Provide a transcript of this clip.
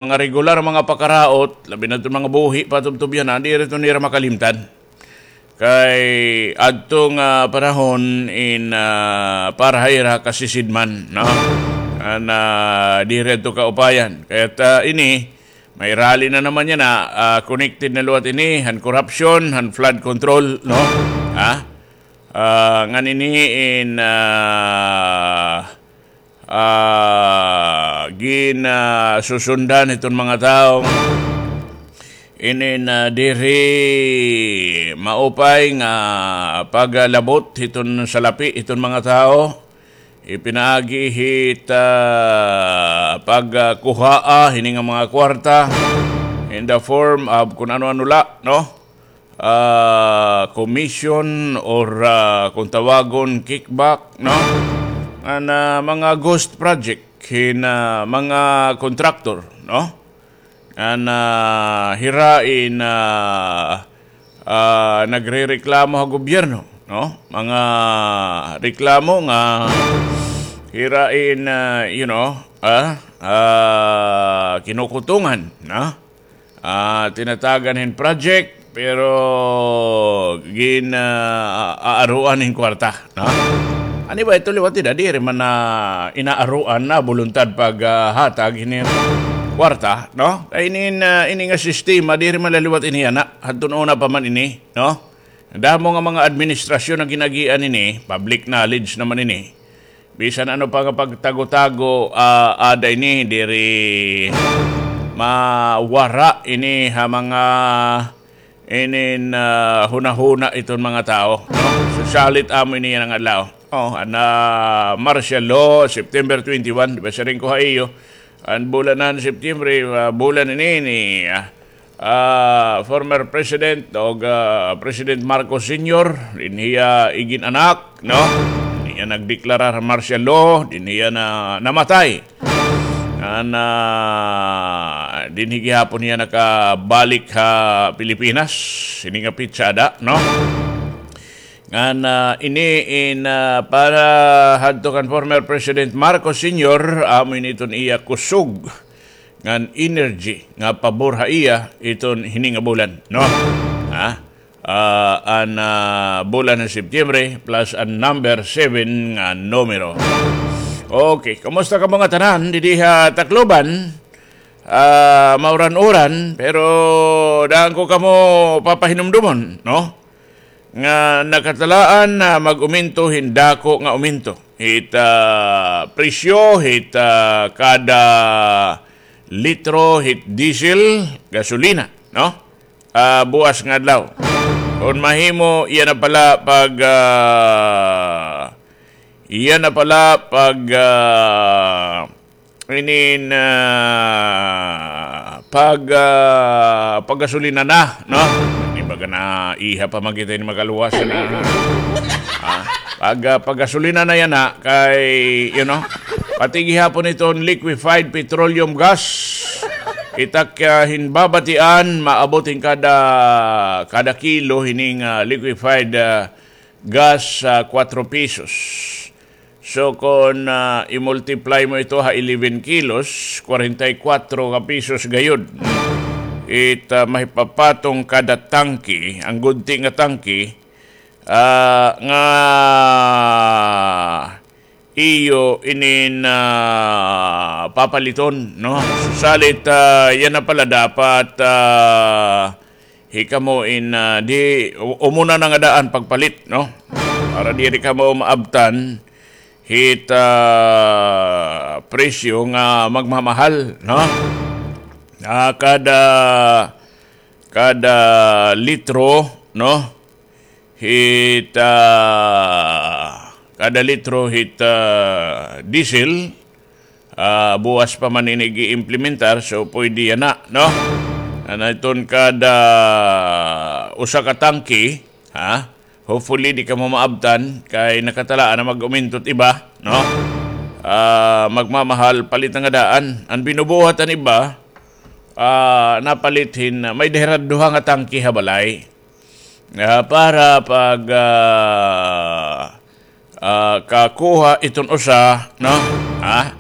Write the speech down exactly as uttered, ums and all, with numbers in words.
mga regular, mga pakaraot, labi na iton mga buhi, patubtob yana, diri iton nira makalimtan. Kay adto nga panahon in, ah, para ha ira kasisidman, no? An, ah, diri adto kaupayan. Kay ta ini, may rally na naman yana, ah, connected na liwat ini han corruption, han flood control, no? Ha? Ah, ngan ini in, ah, ah, gin, ah, susundan hiton mga tawo. Inin, ah, diri maupay nga paglabot hiton salapi hiton mga tawo. Ipinaagi hit, ah, pagkuhaa hini nga mga kwarta in the form of kun ano-ano la, no? Ah, commission or, ah, kung tawagon, kickback, no? An, ah, mga ghost project hin, ah, mga contractor, no? An, ah, hira in, ah, ah, nagrereklamo ha gobyerno, no? Mga reklamo nga hira in, ah, you know, ah, ah, kinukutungan, no? Ah, tinatagan hin project, pero gin, ah, aaruan hin kwarta, no? Ano ba ito liwat ida? Diri man na inaaruan na boluntad pag, ah, hatag hin kwarta, no? Kay inin, ah, ini nga sistema, diri man la liwat ini yana. Hadton una pa man ini, no? Damo nga mga administrasyon nga gin-agian ini, public knowledge naman ini. Bisan ano pa nga pagtago-tago, ah, ada ini, diri mawara ini ha mga inin, ah, hunahuna iton mga tawo, no? So, salit amo ini yana nga adlaw. Oh, an, ah, martial law, September twenty-one, di ba siring ko ha iyo? An bulan han September, ah, bulan ini ni, ah, ah, former President o, ah, President Marcos Senior, dinhi hiya igin-anak, no? Dinhi hiya nagdeklarar han martial law, dinhi hiya na, namatay. An, ah, dinhi gihapon hiya nakabalik ha Pilipinas, hini nga petsa ada, no? Ngan, ah, ini in, ah, para hadto kan former President Marcos Senior, amo ini iton iya kusog ngan energy nga pabor ha iya iton hini nga bulan, no? Ha? Ah, an, ah, bulan han Septiembre plus an number seven nga numero. Okay, kumusta kamo nga tanan didi ha Tacloban? Ah, mauran-uran, pero daan ko kamo papahinumdomon, no? Nga nakatalaan na mag-uminto hin dako nga uminto hit, ah, presyo hit, ah, kada litro hit diesel, gasolina, no? Ah, buwas nga adlaw. Kon mahimo, iya na pala pag, ah, iya na pala pag, ah, inin, ah, pag, ah, paggasolina na, no? Ini baga naiha pa man kita ini makaluwas na. Ah, pag, ah, paggasolina na yana kay, you know, pati gihapon iton liquefied petroleum gas. Kita kay hin babatian, maabot hin kada, kada kilo hining, ah, liquefied, ah, gas, ah, kwatro pesos. So, kon, ah, i-multiply mo ito ha eleven kilos, kwarenta y kwatro ka pesos gayod. It, ah, mahipapatong kada tangke, an gudti nga tangke, ah, nga iyo inin, ah, papaliton, no? So, salit, ah, yana pala dapat, ah, hikamo in, ah, di, u-, umuna na nga daan pagpalit, no? Para diri kamo maabtan hit, ah, presyo nga magmamahal, no? Ah, kada, kada litro, no? Hit, ah, kada litro hit, ah, diesel, ah, buwas pa man ini gi-implementar, so pwede yana, no? An iton kada usa ka tangke, ha? Hopefully, di kamo maabtan, kay nakatalaan na mag-uminto it iba, no? Ah, magmamahal, palit na nga daan. An binubuhat an iba, ah, napalit hin, ah, may-ada hira duha nga tangke ha balay. Ah, para pag, ah, ah, kakuha iton usa, no? Ha?